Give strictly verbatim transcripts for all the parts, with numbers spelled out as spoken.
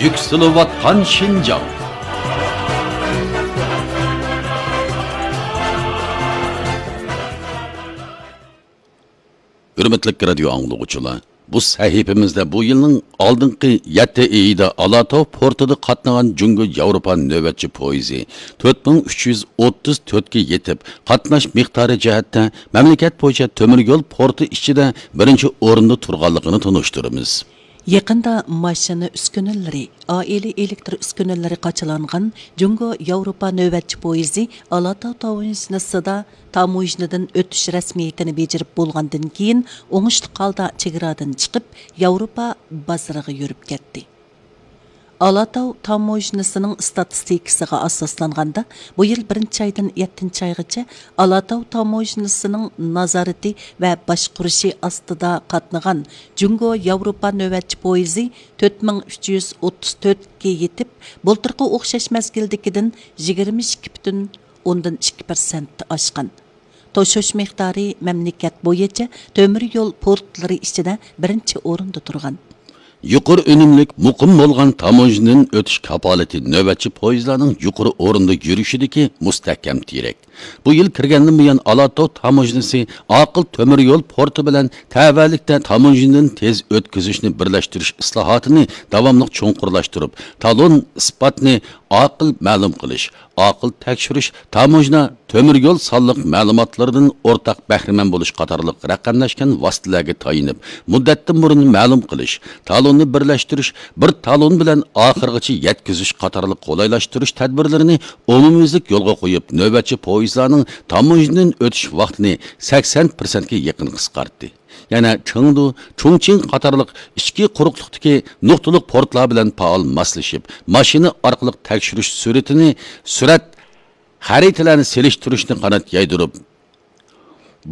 يۈكسىلىۋاتقان شىنجاڭ. ھۆرمەتلىك رادىيو ئاڭلىغۇچىلار، بۇ سەھىپىمىزدە بۇ يىلنىڭ ئالدىنقى يەتتە ئېيىدا ئالاتاۋ پورتىدا قاتنىغان جۇڭگو ياۋروپا نۆۋەتچى پويىزى تۆت مىڭ ئۈچ يۈز ئوتتۇز تۆتكە يېتىپ، قاتناش مىقدارى جەھەتتە مەملىكەت بويىچە تۆمۈر يول پورتى ئىچىدە بىرىنچى ئورۇندا تۇرغانلىقىنى تونۇشتۇرىمىز. يېقىندا ماشىنا ئۈسكۈنىلىرى، ئائىلە ئېلېكتر ئۈسكۈنىلىرى قاچىلانغان جۇڭگو ياۋروپا نۆۋەتچى پويىزى ئالاتاۋ تاۋۇنىسىدا تاموژنىدىن ئۆتۈش رەسمىيىتىنى بېجىرىپ بولغاندىن كېيىن، ئوڭۇشلۇق ھالدا چېگرادىن چىقىپ، ياۋروپا بازىرىغا يۈرۈپ كەتتى. ئالاتاۋ تاموژنىسىنىڭ ئىستاتىستىكىسىغا ئاساسلانغاندا، بۇ يىل بىرىنچى ئايدىن يەتتىنچى ئايغىچە ئالاتاۋ تاموژنىسىنىڭ نازارىتى ۋە باشقۇرۇشى ئاستىدا قاتنىغان جۇڭگو ياۋروپا نۆۋەتچى پويىزى تۆت مىڭ ئۈچ يۈز ئوتتۇز تۆتكە يېتىپ، بۇلتۇرقى ئوخشاش مەزگىلدىكىدىن يىگىرمە ئىككى پۈتۈن ئوندىن ئىككى پىرسەنت ئاشقان. توشۇش مىقدارى مەملىكەت بويىچە تۆمۈر يول پورتلىرى ئىچىدە بىرىنچى ئورۇندا تۇرغان. يۇقىرى ئۈنۈملۈك، مۇقىم بولغان تاموژنىدىن ئۆتۈش كاپالىتى نۆۋەتچى پويىزلارنىڭ يۇقىرى ئورۇندا يۈرۈشىدىكى مۇستەھكەم تىرەك. بۇ يىل كىرگەندىن بۇيان، ئالاتاۋ تاموژنىسى ئاقىل تۆمۈر يول پورتى بىلەن تەۋەلىكتە تاموژنىدىن تېز ئۆتكۈزۈشنى بىرلەشتۈرۈش ئىسلاھاتىنى داۋاملىق چوڭقۇرلاشتۇرۇپ، تالون ئىسپاتنى ئاقىل مەلۇم قىلىش، ئاقىل تەكشۈرۈش، تاموژنا، تۆمۈر يول سانلىق مەلۇماتلىرىدىن ئورتاق بەھرىمەن بولۇش قاتارلىق رەقەملەشكەن ۋاسىتىلەرگە تايىنىپ، مۇددەتتىن بۇرۇن مەلۇم قىلىش، تالوننى بىرلەشتۈرۈش، بىر تالون بىلەن ئاخىرغىچە يەتكۈزۈش قاتارلىق قولايلاشتۇرۇش تەدبىرلىرىنى ئومۇميۈزلۈك يولغا قويۇپ، نۆۋەتچى پويىزلارنىڭ تاموژنىدىن ئۆتۈش ۋاقتىنى سەكسەن پىرسەنتكە يېقىن قىسقارتتى. يەنە چېڭدۇ، چۇڭچىڭ قاتارلىق ئىچكى قۇرۇقلۇقتىكى نۇقتىلىق پورتلار بىلەن پائال ماسلىشىپ، ماشىنا ئارقىلىق تەكشۈرۈش سۈرئىتىنى، سۈرئەت خەرىتىلەرنى سېلىشتۇرۇشنى قانات يايدۇرۇپ،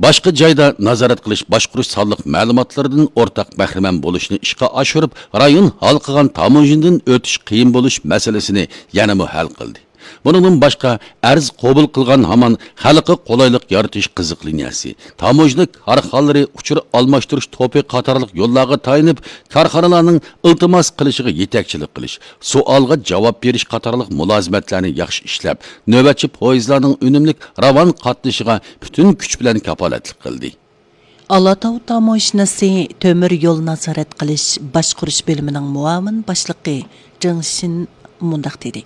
باشقا جايدا نازارەت قىلىش، باشقۇرۇش سانلىق مەلۇماتلىرىدىن ئورتاق بەھرىمەن بولۇشنى ئىشقا ئاشۇرۇپ، رايون ھالقىغان تاموژنىدىن ئۆتۈش قىيىن بولۇش مەسىلىسىنى يەنىمۇ ھەل قىلدى. بۇنىڭدىن باشقا، ئەرز قوبۇل قىلغان ھامان خەلققە قولايلىق يارىتىش قىزىق لىنىيەسى، تاموژنا كارخانىلىرى ئۇچۇر ئالماشتۇرۇش توپى قاتارلىق يوللارغا تايىنىپ، كارخانىلارنىڭ ئىلتىماس قىلىشىغا يېتەكچىلىك قىلىش، سوئالغا جاۋاب بېرىش قاتارلىق مۇلازىمەتلەرنى ياخشى ئىشلەپ، نۆۋەتچى پويىزلارنىڭ ئۈنۈملۈك راۋان قاتنىشىغا پۈتۈن كۈچ بىلەن كاپالەتلىك قىلدى. ئالاتاۋ تاموژنىسى تۆمۈر يول نازارەت قىلىش باشقۇرۇش بۆلۈمىنىڭ مۇئاۋىن باشلىقى جېڭ شىن مۇنداق دېدى: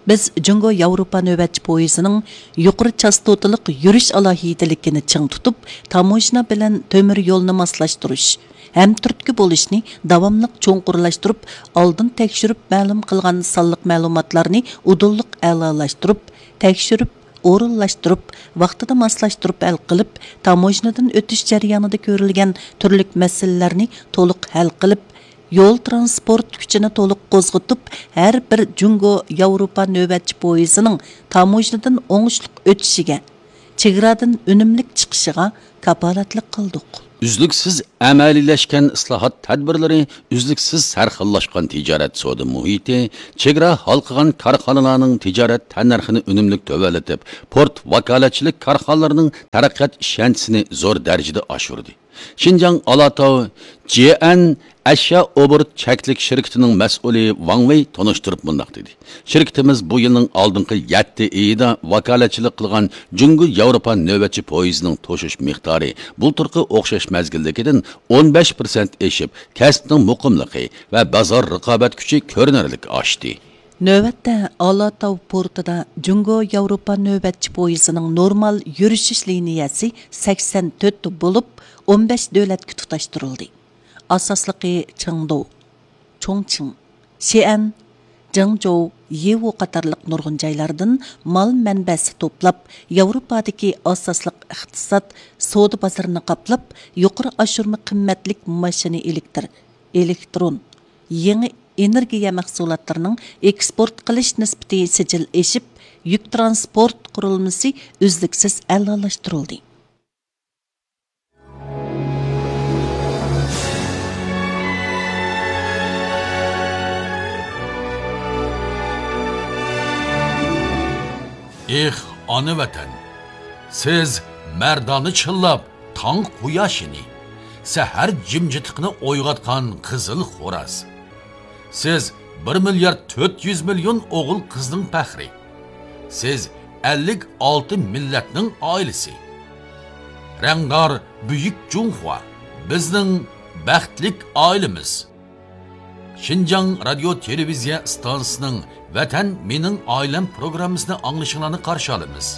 بىز جۇڭگو ياۋروپا نۆۋەتچى پويىزىنىڭ يۇقىرى چاستوتىلىق يۈرۈش ئالاھىدىلىكىنى چىڭ تۇتۇپ، تاموژنا بىلەن تۆمۈر يولنى ماسلاشتۇرۇش، ھەمتۈرتكە بولۇشنى داۋاملىق چوڭقۇرلاشتۇرۇپ، ئالدىن تەكشۈرۈپ مەلۇم قىلغان سانلىق مەلۇماتلارنى ئۇدۇللۇق ئەلالاشتۇرۇپ، تەكشۈرۈپ، ئورۇنلاشتۇرۇپ، ۋاقتىدا ماسلاشتۇرۇپ ھەل قىلىپ، تاموژنىدىن ئۆتۈش جەريانىدا كۆرۈلگەن تۈرلۈك مەسىلىلەرنى تولۇق ھەل قىلىپ، يول تىرانسپورت كۈچىنى تولۇق قوزغىتىپ، ھەر بىر جۇڭگو ياۋروپا نۆۋەتچى پويىزىنىڭ تاموژنىدىن ئوڭۇشلۇق ئۆتۈشىگە، چېگرادىن ئۈنۈملۈك چىقىشىغا كاپالەتلىك قىلدۇق. ئۈزلۈكسىز ئەمەلىيلەشكەن ئىسلاھات تەدبىرلىرى، ئۈزلۈكسىز سەرخىللاشقان تىجارەت سودا مۇھىتى، چېگرا ھالقىغان كارخانىلارنىڭ تىجارەت تەننەرخىنى ئۈنۈملۈك تۆۋەنلىتىپ، پورت ۋاكالەتچىلىك كارخانىلىرىنىڭ تەرەققىيات ئىشەنچىسىنى زور دەرىجىدە ئاشۇردى. شىنجاڭ ئالاتاۋ جيەن ئەشيا ئوبوروت چەكلىك شىركىتىنىڭ مەسئۇلى ۋاڭ ۋېي تونۇشتۇرۇپ مۇنداق دېدى: شىركىتىمىز بۇ يىلنىڭ ئالدىنقى يەتتە ئېيىدا ۋاكالەتچىلىك قىلغان جۇڭگو ياۋروپا نۆۋەتچى پويىزىنىڭ توشۇش مىقدارى بۇلتۇرقى ئوخشاش مەزگىلدىكىدىن ئون بەش پىرسەنت ئېشىپ، كەسىپنىڭ مۇقىملىقى ۋە بازار رىقابەت كۈچى كۆرۈنەرلىك ئاشتى. نۆۋەتتە ئالاتاۋ پورتىدا جۇڭگو ياۋروپا نۆۋەتچى پويىزىنىڭ نورمال يۈرۈشۈش لىنىيەسى سەكسەن تۆت بولۇپ، ئون بەش دۆلەتكە تۇتاشتۇرۇلدى. ئاساسلىقى چېڭدۇ، چۇڭچىڭ، شىئەن، جېڭجوۋ، يىۋۇ قاتارلىق نۇرغۇن جايلاردىن مال مەنبەسى توپلاپ، ياۋروپادىكى ئاساسلىق ئىقتىساد، سودا بازىرىنى قاپلاپ، يۇقىرى ئاشۇرما قىممەتلىك ماشىنا ئېلېكتر، ئېلېكترون، يېڭى ئېنېرگىيە مەھسۇلاتلىرىنىڭ ئېكسپورت قىلىش نىسبىتى سىجىل ئېشىپ، يۈك تىرانسپورت قۇرۇلمىسى ئۈزلۈكسىز ئەلالاشتۇرۇلدى. ئېھ، ئانا ۋەتەن! سىز مەردانە چىللاپ تاڭ قۇياشىنى، سەھەر جىمجىتلىقىنى ئويغاتقان قىزىل خوراز. سىز بىر مىليارد تۆت يۈز مىليون ئوغۇل قىزنىڭ پەخرى. سىز ئەللىك ئالتە مىللەتنىڭ ئائىلىسى. رەڭدار بۈيۈك جۇڭخۇا، بىزنىڭ بەختلىك ئائىلىمىز. شىنجاڭ رادىيو تېلېۋىزىيە ئىستانسىسىنىڭ ۋەتەن مېنىڭ ئائىلەم پروگراممىسىنى ئاڭلىشىڭلارنى قارشى ئالىمىز.